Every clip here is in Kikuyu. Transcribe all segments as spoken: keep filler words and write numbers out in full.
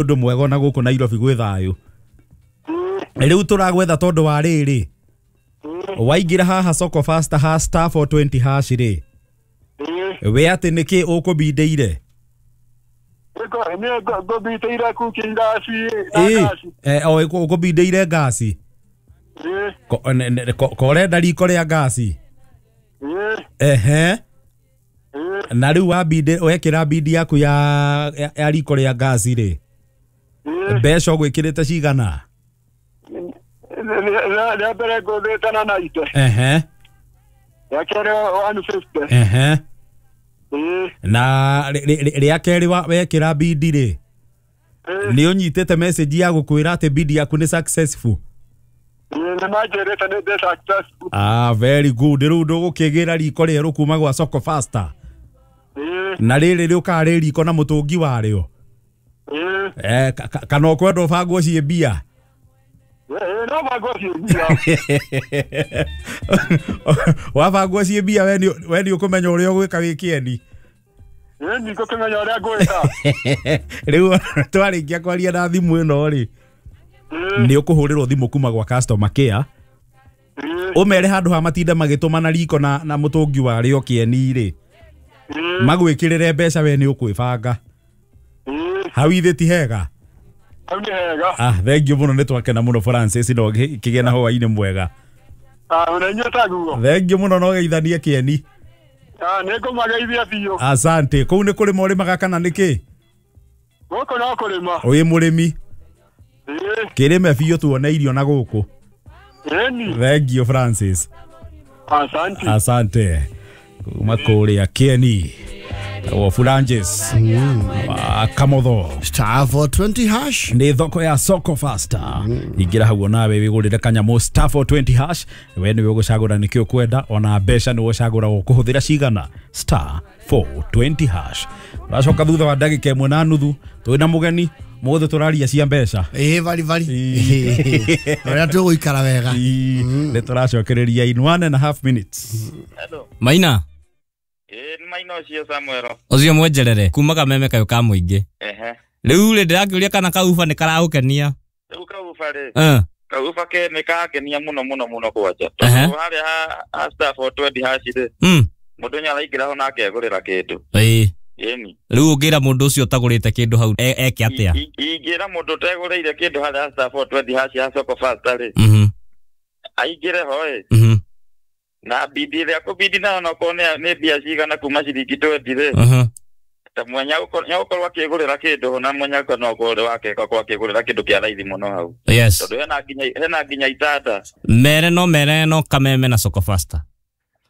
Ũndũ mwega ona gũkũ Nairobi gwĩ thayũ. Rĩu tũragwetha tondũ wa rĩrĩ, waingĩra haha Soko Fasta ha star four twenty hash rĩ, we atĩ nĩkĩ ũkũbindĩire? Ngũbindĩire cooking gas na ngasi. Eh, o ũkũbindĩire ngasi? Ko ũrenda riko rĩa ngasi? Ehe. Na rĩu wabinde wekĩra bindi yaku ya ya riko rĩa ngasi rĩ, mbeca ũgwĩkĩrĩte cigana? Rĩa mbere ngũthĩte na ninety. Ehe. Rĩa kerĩ one fifty. Ehe. Na rĩa kerĩ wekĩra bindi rĩ, nĩ ũnyitĩte message ya gũkwĩra atĩ bindi yaku nĩ successful? Nĩ manjĩrĩte nĩ ndĩ successful. Ah, very good. Rĩu ndũgũkĩgĩra riko rĩerũ kuma gwa Soko Fasta. Na rĩrĩ rĩũkaga rĩ riko na mũtũngi warĩo. Eh, kana ũkwenda ũbangwo ciĩ mbia? No bangwo ciĩ mbia. Wabangwo ciĩ mbia we nĩ ũkũmenya ũrĩa ũgwĩka wĩ kĩeni. Nĩ ngũkĩmenya ũrĩa ngwĩka. Rĩu twarĩkia kwaria na thimũ ĩno rĩ, nĩ ũkũhũrĩrwo thimũ kuma gwa customer care, ũmere handũ ha matinda magĩtũmana riko na na mũtũngi warĩo kĩeni rĩ, magwĩkĩrĩre mbeca we nĩ ũkwĩbanga. Hau ithe ti hega? Hau nĩ hega. Ah, thank you mũno, nĩ twakena mũno Francis, no kĩgĩe na hwaĩ-inĩ mwega. Ah, ona inyuĩ taguo. Thank you mũno, no geithanie kĩeni. Ah, nĩ ngũmageithia biũ. Asante. Kũu nĩ kũrĩma ũrĩmaga kana nĩ kĩ? Gũkũ no kũrĩma. Wĩ mũrĩmi? Kĩrĩme biũ tuone irio na gũkũ. Ĩni. Thank you Francis. Asante. Asante. Kuma kũrĩa kĩeni. O Fulanges. Kamotho. Star four twenty hash. Nĩ thoko ya Soko Fasta. Ingĩra hau nawe wĩgũrĩre kanyamũ star four twenty hash. We nĩwe ũgũcagũra nĩkĩ ũkwenda, ona mbeca nĩwe ũcagũra ũkũhũthĩra cigana. Star four twenty hash. Tũracoka thutha wa ndagĩka ĩmwe na nuthu twĩna mũgeni mũthĩ tũraria cia mbeca. Ĩĩ bari bari. Ũrĩa tũgũikara wega. Nĩ tũracokereria in one and a half minutes. Hello. Maina. Ĩĩ nĩ Maina ũcio Samuel. Ũcio mwenjerere kuma kameme kayo ka mũingĩ. Ehe. Rĩu rĩ ndĩrakĩũria kana kauba nĩ karagũkenia. Rĩu kauba rĩ. Eh. Kauba ke nĩ kangenia mũno mũno mũno kwanja. Tondũ harĩa ha star four twenty hash rĩ. Mm. Mũndũ nĩ araingĩra ho na akegũrĩra kĩndũ. Ĩĩ. Ĩni. Rĩu ũngĩra mũndũ ũcio ũtagũrĩte kĩndũ hau eke atĩa? Ingĩra mũndũ ũtegũrĩire kĩndũ harĩa star four twenty hash ya Soko Fasta rĩ. Mhm. Aingĩre ho ĩ. Mhm. Na bidi ĩrĩa kũbidi nayo nokorwo nĩ mbia cigana kuma ciringi twenty rĩ. Mhm. Ta mwenya nĩagũkorwo akĩgũrĩra kĩndũ na mwenya no akorwo wake akorwo akĩgũrĩra kĩndũ kĩa raithi mũno hau. Yes. Tondũ hena nginya hena nginya itanda. Mere no mere no kameme na Soko Fasta.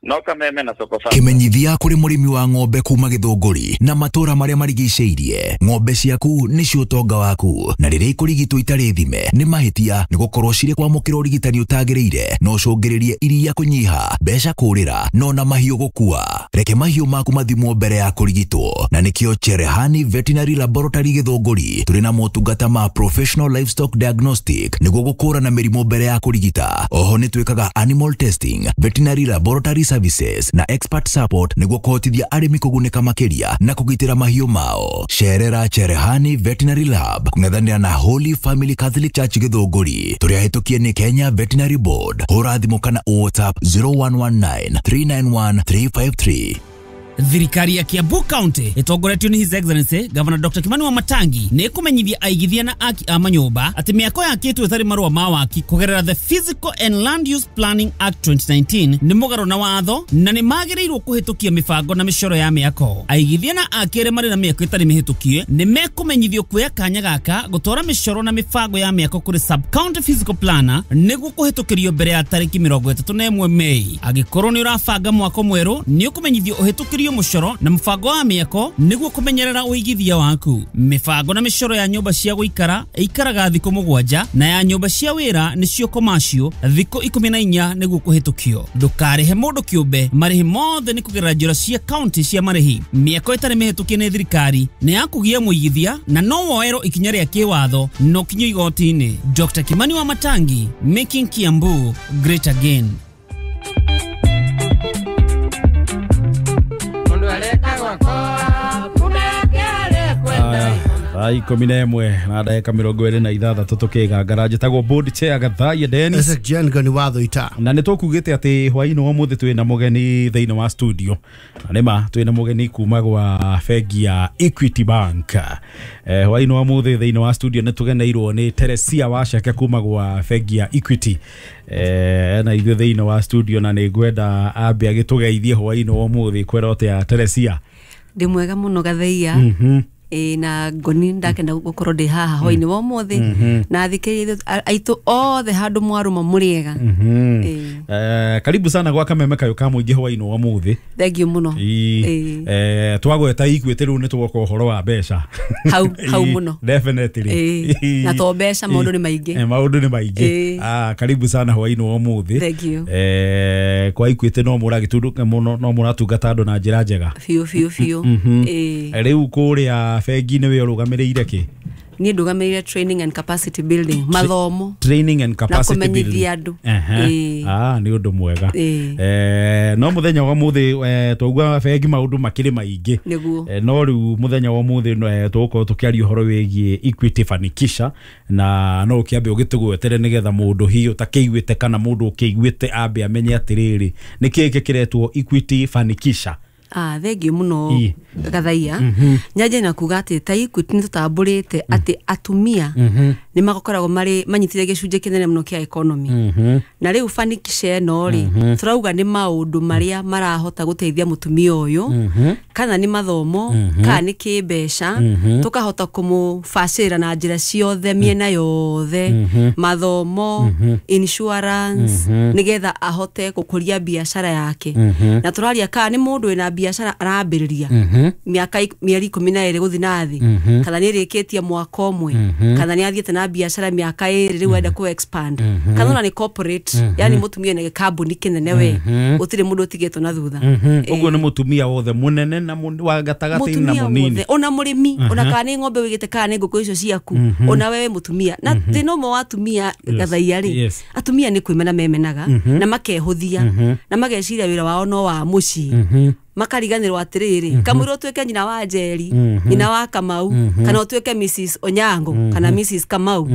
No kameme na Soko Fasta. Kimenyithia kuri murimi wa ng'ombe kuma Githunguri na matura maria marigiceirie. Ng'ombe ciaku nicio utonga waku, na riria ikurigitwo itari thime ni mahitia ni gukorwo ciri kwamukira urigitani utagiriire no ucungiririe iria kunyiha, mbeca kurira no na mahiũ gukua. Reke mahiũ maku mathimwo mbere ya kurigitwo, na nikio Cherehani Veterinary Laboratory Githunguri turi na motungata ma professional livestock diagnostic niguo gukurana mirimu mbere ya kurigita. Oho ni twikaga animal testing, veterinary laboratory services na expert support niguo kuhotithia arimi kugunĩka makĩria na kũgitĩra mahiũ mao. Cerera Cherehani Veterinary Lab kung'ethanĩra na Holy Family Catholic Church Githunguri. Tũrĩ ahĩtũkie nĩ Kenya Veterinary Board. Hũra thimũ kana WhatsApp zero one one nine three nine one three five three. Thirikari ya Kiambu County itongoretio ni His Excellency Governor Doctor Kimani Wamatangi nĩ ĩkũmenyithia aigithia na aki a manyũmba atĩ mĩako yakĩtwo ĩtarĩ marũa ma waki kũgerera the Physical and Land Use Planning Act twenty nineteen nĩ mũgarũ na watho na nĩ magĩrĩirwo kũhĩtũkia mĩbango na mĩcoro ya mĩako. Aigithia na aki arĩa marĩ na mĩako ĩtarĩ mĩhĩtũkie nĩ mekũmenyithio kuoya kanya gaka gũtwara mĩcoro na mĩbango ya mĩako kũrĩ sub county physical planner nĩguo kũhĩtũkĩrio mbere ya tarĩki mĩrongo ĩtatũ na ĩmwe Mei. Angĩkorwo nĩ ũrabanga mwako mwerũ nĩ ũkũmenyithio ũhĩtũkĩrio mũcoro na mũbango wa mĩako nĩguo kũmenyerera ũigithia waku. Mĩbango na mĩcoro ya nyũmba cia gũikara ĩikaraga thikũ mũgwanja na ya nyũmba cia wĩra nĩcio commercial thikũ ikũmi na inya nĩguo kũhĩtũkio. Ndũkarĩhe mũndũ kĩũmbe, marĩhi mothe nĩ kũgerera njĩra cia county cia marĩhi. Mĩako ĩtarĩ mĩhĩtũkie nĩ thirikari nĩ ya kũgia mũigithia na no woerwo ikinya rĩa kĩwatho no kinyo igoti-inĩ. Doctor Kimani Wamatangi, making Kiambu great again. Thaa ikũmi na ĩmwe na ndagĩka mĩrongo ĩrĩ na ithathatũ tũkĩgangara. Njĩtagwo board chair Gathaiya Dennis. S G N Ngoni wa Thuita. Na nĩ tũkugĩte atĩ hwaĩ-inĩ wa ũmũthĩ twĩna mũgeni thĩinĩ wa studio. Na nĩma twĩna mũgeni kuma gwa bengi ya Equity Bank. Eh, hwaĩ-inĩ wa ũmũthĩ thĩinĩ wa studio nĩ tũgeneirwo nĩ Teresia Waceke kuma gwa bengi ya Equity. Eh, na ithuĩ thĩinĩ wa studio na nĩ ngwenda ambe agĩtũgeithie hwaĩ-inĩ wa ũmũthĩ. Kwĩra atĩa Teresia? Ndĩ mwega mũno Gathaiya. Mhm. E, na Ngoni ndakenda gukorwo ndi haha hwaini wa umuthi na thikiriria aitu othe handu mwaruma muriega. Eh, karibu sana gwa Kameme Kayo ka Mũingĩ hwaini wa umuthi. Thank you muno. Eh, twagweta Equity riu ni twoka uhoro wa mbeca hau hau muno. Definitely. Na to mbeca maundu ni maingi. Eh, maundu ni maingi. Ah, karibu sana hwaini wa umuthi. Thank you. Eh, kwa Equity no muragitundu muno no muratungata andu na njira njega. Fiu fiu fiu. Eh, riu kuria bengi nĩ we ũrũgamĩrĩire kĩ? Niĩ ndũgamĩrĩire training and capacity building, mathomo. Training and capacity building. Na kũmenyithia andũ. Ah, nĩ ũndũ mwega. Eh, no mũthenya wa mũthĩ twaugua bengi maũndũ makĩrĩ maingĩ. Nĩguo. No rĩu mũthenya wa mũthĩ tũgũkorwo tũkĩaria ũhoro wĩgiĩ Equity Fanikisha na no ũkĩambe ũgĩtũgwetere nĩgetha mũndũ hihi ũtakĩiguĩte kana mũndũ ũkĩiguĩte ambe amenye atĩrĩrĩ nĩkĩĩ gĩkĩ kĩretwo Equity Fanikisha. Ah, thank you muno Gathaiya. Nyaje na kuga ati ta Equity ni tutamburite ati atumia ni magokoragwo mari manyitire gicunjĩ kĩnene mũno kĩa economy. Na rĩu Fanikisha ĩno rĩ turauga nĩ maũndũ marĩa marahota gũteithia mũtumia ũyũ kana nĩ mathomo kana nĩ kĩmbeca tukahota kũmũbacĩrĩra na njĩra ciothe mĩena yothe mathomo insurance nĩgetha ahote gũkũria biacara yake. Na tũraria kana nĩ mũndũ wĩna biacara arambĩrĩria mĩaka mĩeri ikũmi na ĩrĩ gũthiĩ na thĩ kana nĩ ĩrĩkĩtie mwaka ũmwe kana nĩ athiĩte na biacara mĩaka ĩrĩ rĩu enda kũ expand kana ona nĩ corporate, yani mũtumia nĩ kambuni kĩnene we gũtirĩ mũndũ ũtigĩtwo na thutha. Ũguo nĩ mũtumia wothe mũnene na wa gatagatĩ na mũnini ona mũrĩmi ona kana nĩ ng'ombe wĩigĩte kana nĩ ngũkũ icio ciaku ona wewe mũtumia. Na thĩna ũmwe wa atumia Gathaiya rĩ atumia nĩ kwĩmena memenaga na makehũthia na mageciria wĩra wao no wa mũciĩ makariganirwo atiriri kamwira utuike nyina wa Njeri nyina wa Kamau kana utuike Missus Onyango kana Missus Kamau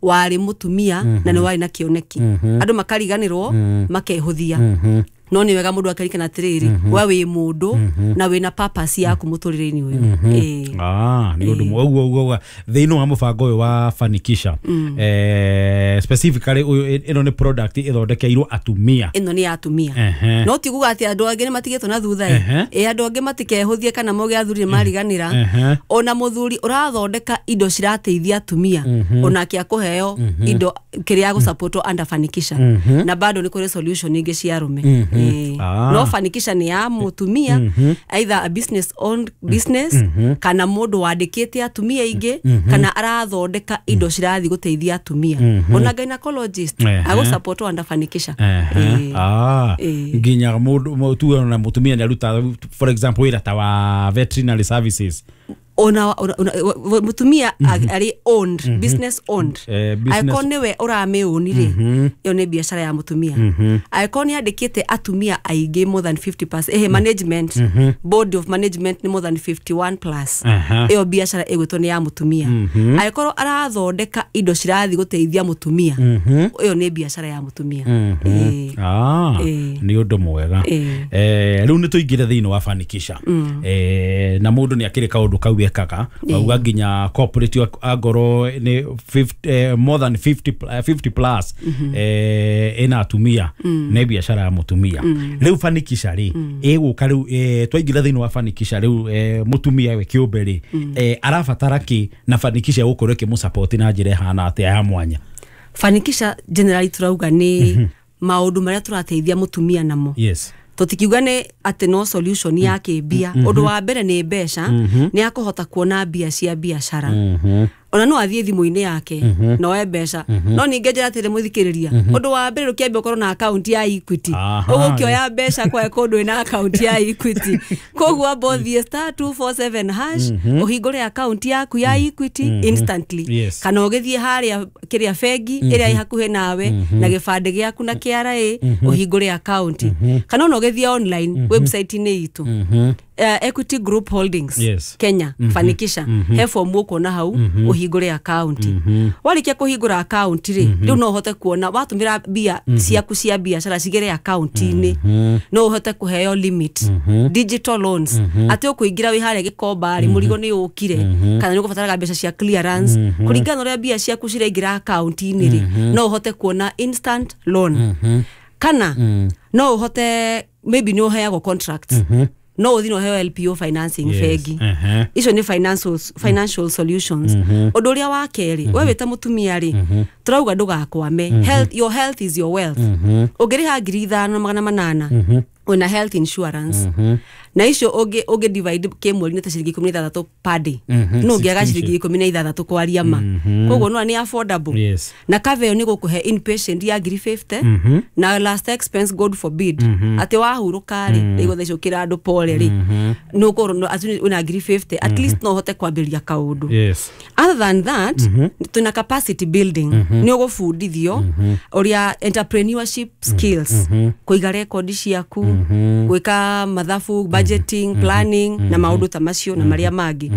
wari mutumia na ni wari na kioneki andu makariganirwo makehuthia. No ni wega mundu akarikana atiriri we wi mundu na wina purpose yaku muturire-ini uyu. Eh, ah, ni undu uguo uguo thiini wa mubango uyu wa Fanikisha eh specifically uyu ino ni product ithondekeirwo atumia. Ino ni atumia no ti kuga ati andu angi ni matigitwo na thutha eh andu angi matikehuthie kana moge athuri mariganira ona muthuri urathondeka indo cirateithia atumia onake akuheo indo kiria gusupport under Fanikisha na bado ni kuri solution ingi cia arume. Ah. No Fanikisha ni ya mutumia mm -hmm. either a business owned business mm -hmm. kana mundu wandikite atumia ingi mm -hmm. kana arathondeka indo cirathi guteithia atumia mm -hmm. ona gynecologist ago support under Fanikisha. Eh. Ah, nginya mundu tu na mutumia ni aruta for example wira ta wa veterinary services ona mutumia ari owned mm -hmm. business owned eh, business icon niwe uramiuni ri iyo ni biacara ya mutumia mm -hmm. icon yandikite atumia aingi more than fifty percent eh management mm -hmm. board of management ni more than fifty-one plus iyo biacara igwitwo ni ya mutumia mm -hmm. icon arathondeka indo cirathi guteithia mutumia iyo ni biacara ya mutumia. mm -hmm. eh, ah eh, ni undu mwega eh riu ni tuingire thiini wa Fanikisha mm. eh na mundu ni akiri kaundu kau ekaga auga nginya corporate angoro ni fifty, eh, more than fifty, fifty plus mm -hmm. eh ina atumia mm. ne biacara ya mutumia mm. Riu Fanikisha ri mm. iguka riu eh, twaingira thiini wa Fanikisha riu eh, mutumia we kiumbe ri mm. eh, arabatara ki na Fanikisha gukorwo ikimusupport na njira ihana atia ya mwanya? Fanikisha generally turauga ni mm -hmm. maundu maria turateithia mutumia namo. Yes. Tutikiuga ni ati no solution ya kĩmbia mm -hmm. Undu wa mbere ni mbeca mm -hmm. ni akuhota kuona mbia cia biacara mm -hmm. ona no athie thimu-inĩ yake mm -hmm. no e mbeca mm -hmm. no ningĩ njĩra atĩrĩ mũthikĩrĩria mm -hmm. Undu wa mbere rũkĩambia ũkorwo na account ya Equity ũgũkĩoya mbeca kwa kũndũ ĩna account ya Equity koguo amba ũthiĩ star two four seven hash mm -hmm. ũhingũre account yaku ya Equity mm -hmm. instantly. Yes. Kana ũgĩthiĩ harĩa kĩrĩa bengi ĩrĩa mm -hmm. ĩ hakuhĩ nawe mm -hmm. na gĩbandĩ gĩaku na K R A mm -hmm. ũhingũre account mm -hmm. kana ona ũgĩthiĩ online mm -hmm. website-inĩ itũ mm -hmm. uh, Equity Group Holdings Yes. Kenya fanikisha he form ũkuona hau ũhingũre account. Warĩkia kũhingũra account rĩ, rĩu no ũhote kuona watũmĩra mbia ciaku cia biacara cigere account-inĩ, no ũhote kũheo limit, digital loans, atĩ ũkũingĩra wĩ harĩa Gĩkomba rĩ, mũrigo nĩ ũkire kana nĩ ũgũbataraga mbeca cia clearance, kũringana na ũrĩa mbia ciaku ciraingĩra account-inĩ rĩ, no ũhote kuona instant loan, kana no ũhote maybe nĩ ũheagwo contracts, no ũthiĩ na ũheo L P O financing Yes. bengi. Ehe. Icio nĩ financial, financial solutions. Ũndũ ũrĩa wa kerĩ, we wĩ ta mũtumia rĩ, tũrauga ndũgakwame. Health, your health is your wealth. Ũngĩrĩha ngiri ithano na magana manana wĩna health insurance, na icio ũngĩ ũngĩ divide kĩmweri nĩ ta ciringi ikũmi na ithathatũ per day. No ũngĩaga ciringi ikũmi na ithathatũ kwaria ma, koguo no nĩ affordable. Yes. Na cover ĩyo nĩ gũkũhe inpatient ya ngiri mĩrongo ĩna na last expense, god forbid atĩ wahurũka rĩ, rĩu thaa icio ũkĩra andũ pole rĩ, nĩ ũkũrwo atĩ wĩna ngiri mĩrongo ĩna, at least no ũhote kwambĩrĩria kaũndũ. Yes. Other than that, tuna capacity building, nĩ ũgũbundithio ũrĩa entrepreneurship skills, kũiga rekondi ciaku, gwĩka mathabu, budgeting, planning na maũndũ ta macio na marĩa mangĩ.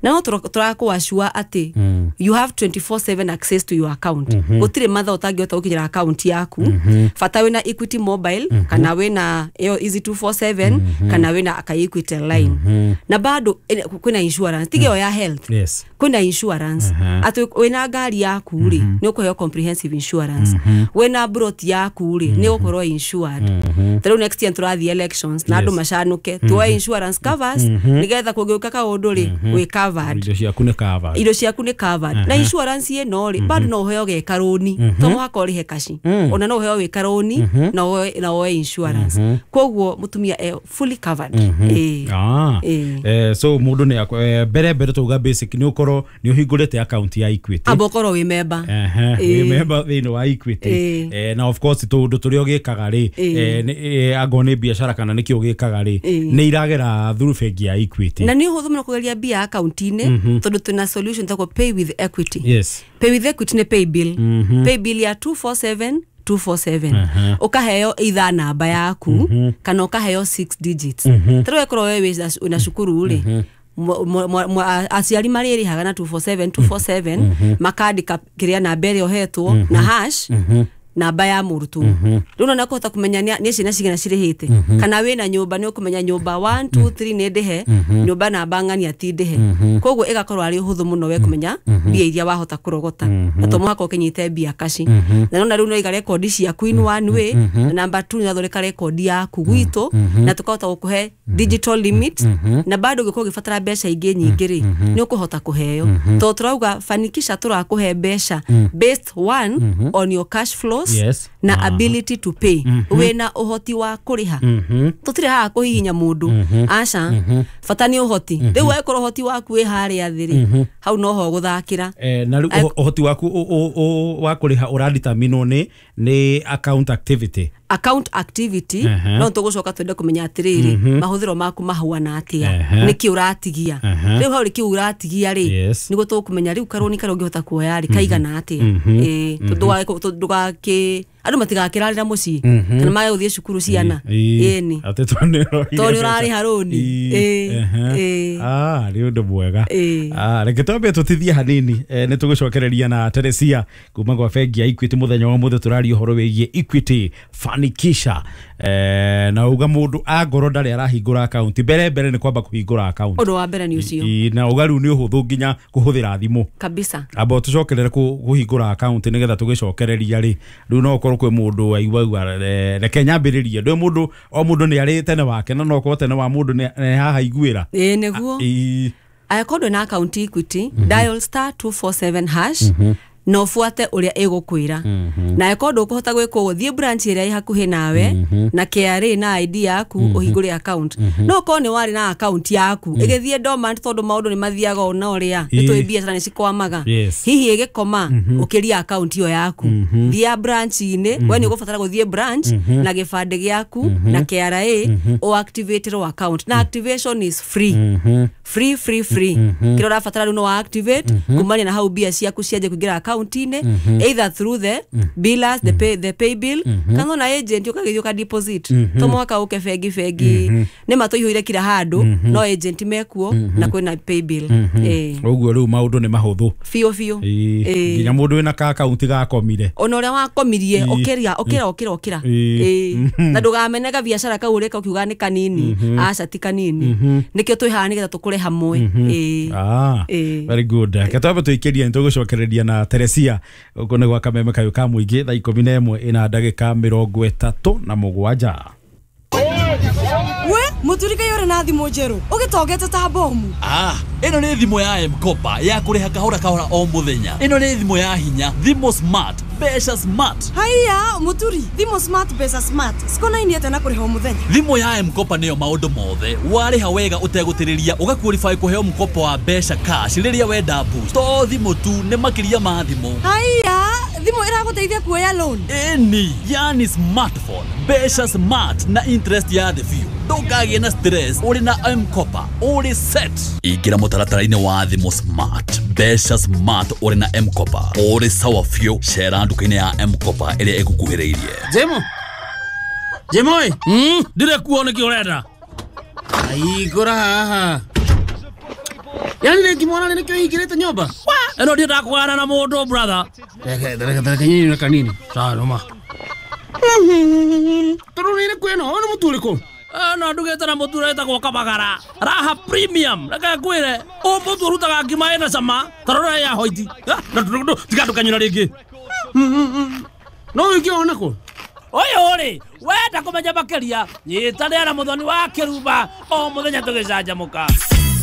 Na no tũrakũacua atĩ you have twenty-four seven access to your account. Gũtirĩ mathaa ũtangĩhota gũkinyĩra account yaku, bata wĩna Equity mobile kana wĩna ĩyo Easy two four seven kana wĩna ka Equity line. Na bado eh, kwĩna insurance, tiga ĩyo ya health, Yes. kwĩna insurance atĩ wĩna ngari yaku rĩ, nĩ ũkũheo comprehensive insurance, wĩna broti yaku rĩ, nĩ ũgũkorwo insured. Ta rĩu next year tũrathiĩ elections na andũ macanũke, tuoe insurance covers nĩgetha kũngĩũka kaũndũ rĩ, wĩ covered. Indo ciaku nĩ covered. Indo ciaku nĩ covered. Na insurance ĩno rĩ, bado no ũheo geka rũni, to mũhaka ũrĩhe kaci, ona no ũheo wĩka rũni na woe na woe insurance. Koguo mũtumia e fully covered. Ĩĩ. Ah. Ĩĩ. Eh, so mũndũ nĩ akw- eh, mbere mbere tauga basic nĩ ũkorwo nĩ ũhingũrĩte account ya Equity. Amba ũkorwo wĩ member. Ehe, Ĩĩ. wĩ member thĩinĩ wa Equity. Ĩĩ. Eh, na of course tũndũ tũrĩa ũgĩkaga rĩ, Ĩĩ. eh, nĩ- eh, angorwo nĩ biacara kana nĩkĩ ũgĩkaga rĩ, Ĩĩ. nĩ iragera through bengi ya Equity. Na nĩ ũhũthũ mũno kũgeria mbia akaunti-inĩ tondũ twĩna solution tagwo Pay with Equity. Yes. Pay with Equity nĩ pay bill, pay bill ya two four seven two four seven, ũkaheo either namba yaku kana ũkaheo six digits. Ta rĩu ĩkorwo we wĩ wĩna cukuru rĩ, mwa- mwa- mwa- aciari marĩrĩhaga na two four seven two four seven, makandĩka kĩrĩa namba ĩrĩa ũhetwo na hash namba ya mũrutwo. Rĩu nona kũhota kũmenya nĩ nĩ ciana cigana cirĩhĩte, kana wĩna nyũmba nĩ ũkũmenya nyũmba one two three nĩ ndĩhe, nyũmba namba ng'ania ti ndĩhe. Koguo ĩgakorwo arĩ ũhũthũ mũno we kũmenya mbia iria wahota kũrogota, na to mũhaka ũkĩnyite mbia kaci. Na nona rĩu nĩwaiga rekondi ciaku in one way, na namba two nĩwathondeka rekondi yaku gwitũ na tũkahota gũkũhe digital limit, na bado ũngĩkorwo ũgĩbatara mbeca ingĩ nyingĩ rĩ, nĩ ũkũhota kũheo, tondũ tũrauga fanikisha tũrakũhe mbeca based one on your cash flows Yes. na Aha. ability to pay, wĩna ũhoti wa kũrĩha. Tũtirĩ haha kũhihinya mũndũ, aca, bata nĩ ũhoti. Rĩu angĩkorwo ũhoti waku wĩ harĩa thĩ rĩ, hau noho ũgũthakĩra. Eh, na rĩu Ai- ũho- ũhoti waku ũ- ũ- ũ- wa kũrĩha ũraditaminwo nĩ nĩ account activity. Account activity. Aha. No tũgũcoka twende kũmenya atĩrĩrĩ, mahũthĩro maku mahuana atĩa, Aha. nĩkĩ ũratigia. Aha. Rĩu hau rĩ, kĩu ũratigia rĩ, Yes. nĩguo tũkũmenya rĩu karũni karĩa ũngĩhota kuoya rĩ kaigana atĩa. Ĩĩ, tondũ ndũgagĩko- ndũgakĩ andũ matigakĩrarĩra mũciĩ kana mage gũthiĩ cukuru ciana. Ĩni. Atĩ tondũ nĩ ũroire Tondũ nĩ mbeca. ũrarĩha rũni. Ĩĩ, Ĩĩ, ehe. ĩĩ. Ah, nĩ ũndũ mwega. Ĩĩ. Ah, reke twambe tũtithie hanini. eh, nĩ tũgũcokereria na Teresia kuma gwa bengi ya Equity. Mũthenya wa ũmũthĩ tũraria ũhoro wĩgiĩ Equity Fanikisha. eh, na uga mũndũ angorwo ndarĩ arahingũra akaunti, mbere mbere nĩ kwamba kũhingũra akaunti. Ũndũ wa mbere nĩ ũcio. Ĩĩ, na uga rĩu nĩ ũhũthũ nginya kũhũthĩra thimũ. Kabisa. Amba tũcokerere kũ- kũhingũra akaunti nĩgetha tũgĩcokereria rĩ, rĩu no ũkorwo kwĩ mũndũ waigua eh, reke nyambĩrĩrie. Ndũĩ mũndũ o mũndũ nĩ arĩ tene wake, na no ũkorwo tene wa mũndũ nĩ nĩ haha iguĩra. Ĩĩ, nĩguo. Ĩĩ. Angĩkorwo ndwĩ na akaunti Equity, dial star two four seven hash na ũbuate ũrĩa ĩgũkwĩra. Na angĩkorwo ndũkũhota gwĩka ũguo, thiĩ branch ĩrĩa ĩ hakuhĩ nawe na K R A na I D yaku ũhingũre account. No ũkorwo nĩ warĩ na account yaku ĩgĩthiĩ dormant, tondũ maũndũ nĩ mathiaga o na ũrĩa nĩ tũĩ, Ĩĩ. biacara nĩ cikwamaga, Yes. hihi ĩgĩkoma ũkĩria account ĩyo yaku, thiĩ branch-inĩ. We nĩ ũgũbatara gũthiĩ branch na gĩbandĩ gĩaku na K R A, ũactivaterwo account, na activation is free. Free free free. Kĩrĩa ũrabatara rĩu no wa activate kumania na hau mbia ciaku cianjie kũingĩra akaunti-inĩ, either through the billers, the pay, the pay bill, kana ona agent ũkagĩthiĩ ũka deposit. To mũhaka ũke bengi bengi nĩ matũihũire kila handũ, no agent mekuo na kwĩna pay bill. Ĩĩ. Ũguo rĩu maũndũ nĩ mahũthũ. Biũ biũ. Ĩĩ. Ĩĩ. Nginya mũndũ wĩna ka akaunti gakomire. Ona ũrĩa wakomirie, Ĩĩ. ũkĩra ũkĩra ũkĩra ũkĩra. Ĩĩ. Ĩĩ. Na ndũgamenega biacara kau ũreka ũkiuga nĩ kanini, aca ti kanini. Nĩkĩo twĩ haha nĩgetha tũkũre hamwe. Ĩĩ. Ah, Ĩĩ. very good. Reke twambe tũikĩrie nĩ tũgũcokereria na Teresia gũkũ nĩ gwa Kameme kayũ ka mũingĩ thaa ikũmi na ĩmwe ĩna ndagĩka mĩrongo ĩtatũ na mũgwanja. We mũturi kaĩ ũrĩ na thimũ njerũ ũgĩtongete ta bomu. Ah, ĩno nĩ thimũ ya M-Kopa ya kũrĩha kahora kahora o mũthenya. Ĩno nĩ thimũ ya hinya, thimũ smart, mbeca smart. Haiya mũturi, thimũ smart mbeca smart cikonainie atĩa na kũrĩha o mũthenya? Thimũ ya M-Kopa nĩyo maũndũ mothe. Warĩha wega ũtegũtĩrĩria ũgaqualify kũheo mkopo wa mbeca cash rĩrĩa wenda boost. To thimũ tu, nĩ makĩria ma thimũ. Haiya, thimũ ĩragũteithia kuoya loan? Ĩni, yani smartphone, mbeca smart na interest ya thĩ biũ. Ndũkagĩe na stress ũrĩ na M-Kopa, ũrĩ set. Ingĩra mũtaratara-inĩ wa thimũ smart, mbeca smart ũrĩ na M-Kopa, ũrĩ sawa biũ. Cera nduka-inĩ ya M-Kopa ĩrĩa ĩgũkuhĩrĩirie. Jemo Jemo ĩ mm, ndire kuo nĩkĩ ũrenda aigũra haha. Yani rĩngĩ mwana nĩkĩo hingĩrĩte nyũmba ĩno ndiendaga kũgana na mũndũ brother. Reke reke reke nyini na kanini sawa noma tondũ nĩ ĩrĩkũ ĩno ũyũ nĩ mũtu ũrĩkũ? Ĩno ndugĩte na mũtu ũrĩa wĩtagwo Kabagara Raha Premium. Reke ngwĩre ũyũ mũtu ũrutaga ngima ĩna cama ta rora ya hoiti. Tiga ndũkanyũra rĩngĩ. No ũngĩona kũ ũyũ rĩ wenda kũmenya makĩria nyitanĩra na mũthoni wa kĩrumba o mũthenya tũgĩcanjamũka.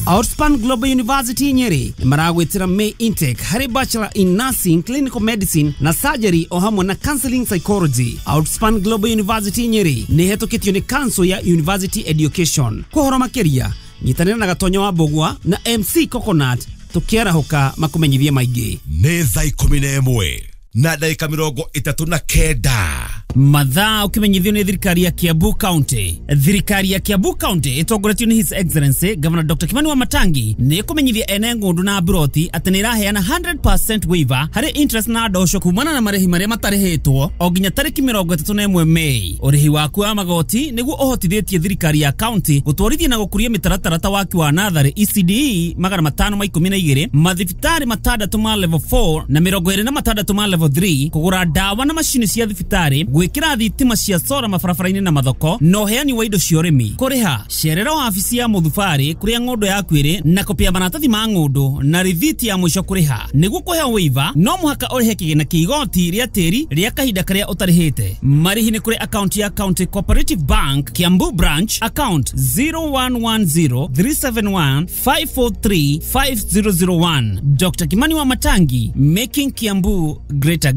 Outspan Global University Nyeri maragwĩtĩra May intake harĩ Bachelor in Nursing, Clinical Medicine na Surgery o hamwe na Counseling Psychology. Outspan Global University Nyeri nĩ ĩhetũkĩtio nĩ Council ya University Education. Kwa ũhoro makĩria nyitanĩra na Gatonyo wa Mbũgua na M C Coconut tũkĩarahũka makũmenyithie maingĩ. Nĩ thaa ikũmi na ĩmwe na ndagĩka mĩrongo ĩtatũ na kenda. Mathaa ũkĩmenyithio nĩ thirikari ya Kiambu County. Thirikari ya Kiambu County ĩtongoretio nĩ His Excellency Governor Doctor Kimani Wamatangi nĩ ĩkũmenyithia ene ng'ũndũ na mburoti atĩ nĩ ĩraheana hundred percent waiver harĩ interest na ndosho kumana na marĩhi marĩa matarĩhĩtwo o nginya tarĩki mĩrongo ĩtatũ na ĩmwe Mei. Ũrĩhi waku wa magoti nĩguo ũhotithĩtie thirikari ya county gũtwarithia na gũkũria mĩtaratara ta waki wa natharĩ E C D E magana matano ma ikũmi na igĩrĩ, mathibitarĩ matandatũ ma level four na mĩrongo ĩrĩ na matandatũ ma level three, kũgũra ndawa na macini cia thibitarĩ, gwĩkĩra thitima cia sora mabarabara-inĩ na mathoko, na ũheani wa indo cia ũrĩmi. Kũrĩha cerera wabici ya mũthubarĩ kũrĩa ng'ũndũ yaku ĩrĩ na kopia maratathi ma ng'ũndũ na rithiti ya mũico kũrĩha. Nĩguo kũheo waiver no mũhaka ũrĩhe kĩgĩna kĩa igoti rĩa tĩri rĩa kahinda karĩa ũtarĩhĩte. Marĩhi nĩ kũrĩ akaunti ya County Cooperative Bank Kiambu Branch, account zero one one zero three seven one five four three five zero zero one. Doctor Kimani Wamatangi, making Kiambu great again.